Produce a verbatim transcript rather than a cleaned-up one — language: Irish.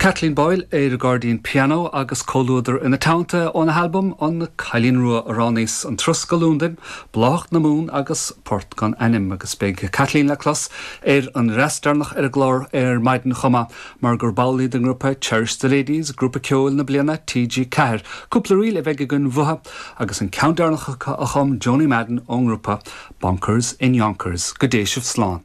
Kathleen Boyle ar an gcairdín pianó agus comhluadar ina teannta óna halbam an Cailín Rua a roghnaíos an Turas go Londain, Bláthach na Mumhan agus Port gan Ainm agus beidh Kathleen le clos ar an restaarnach ar an gclár ar maidin chomh maith mar gur ball í den ngrúpa Cherish the Ladies, grúpa ceoil na bliana TG Ceathair. Cúpla ríl a bheidh againn uathu agus an ceann deireanach a chum Joanie Madden ón ngrúpa Bonkers in Yonkers go dté sibh slán.